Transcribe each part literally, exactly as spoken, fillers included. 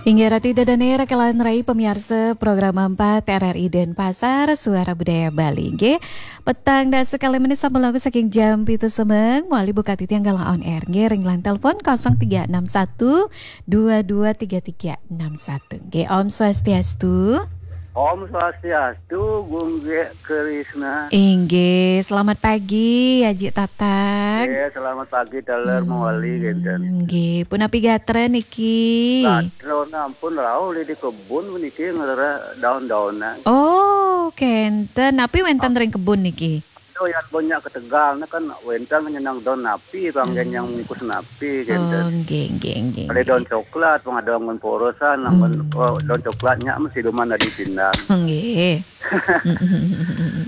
Inggih Ratu Ida Dane, raka lan rai pamiarsa Program Empat R R I Denpasar, Suara Budaya Bali. Inggih, petang dasa kalih menit sampun langkung saking jam pitu semeng, malih buka titiang galah on air. Inggih, ring line telepon kosong tiga enam satu dua dua tiga tiga enam satu. Inggih, Om Swastiastu. Om Swastiastu, Gung Ge Krisna. Inggih, selamat pagi, Aji Tatang. Inggih, selamat pagi, taler Hmm, mawali, kinten. Inggih, punapi gatra niki? Gatra ampun rauh di kebun puniki ngrereh daun-daunan. Oh, kenten. Napi wenten ring kebun niki? Aduh, yan banyak ketegal, nah kan wenten nyenang daun napi, panggen yang bungkus napi, Oh, kinten. Nggih, nggih, nggih, Ada daun nggih. Coklat, pang ada anggon porosan, anggon, Hmm. Oh, daun coklatnya mesti duman dari pindang. Nggih.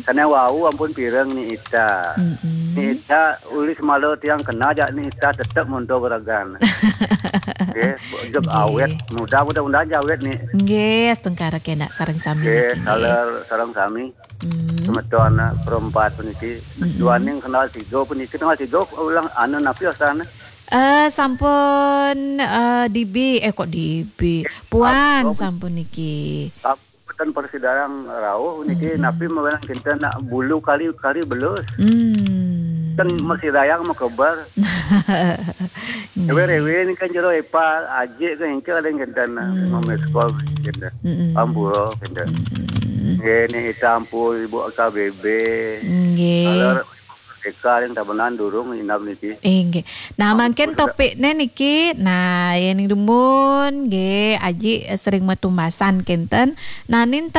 Sane wau ampun pireng Ni Ita. Mm-mm. Ni Ita uli semala tiang kena jak Ni Ita tetep monto geragan. Nggih, jep Nggih. Awet, mudah, mudah-mudahan ja awet ni. Nggih, astungkara kena sareng sami Nggih, niki, nggih. Taler sareng sami. Hmm. Semeton, eh, perempat puniki. Mm-mm. Duaning kenal tiga puniki, kenal tiga ulang anu napi wasane? Eh, sampun, eh, D B, eh, kok D B? Puan sampun niki. Mboten persidarang rauh niki, napi mawinan kinten nak bulu kali, kali belus. Hmm. Kan masih dayang makeber. Nggih. Rewe-rewe ni kan jero epal, ajik ke engke ada kinten nak Hmm. Mamiskol kinten. Mm-mm. Ampura kinten. Mm-mm. Nggih, ni Ita ampu Ibu K B B. Nggih. Kalau Merdeka yang tabenan durung inap niki. Inggih. Nah, mangkin topikne niki, nah, yen dumun nggih, Aji sering matumbasan kinten. Nah, nin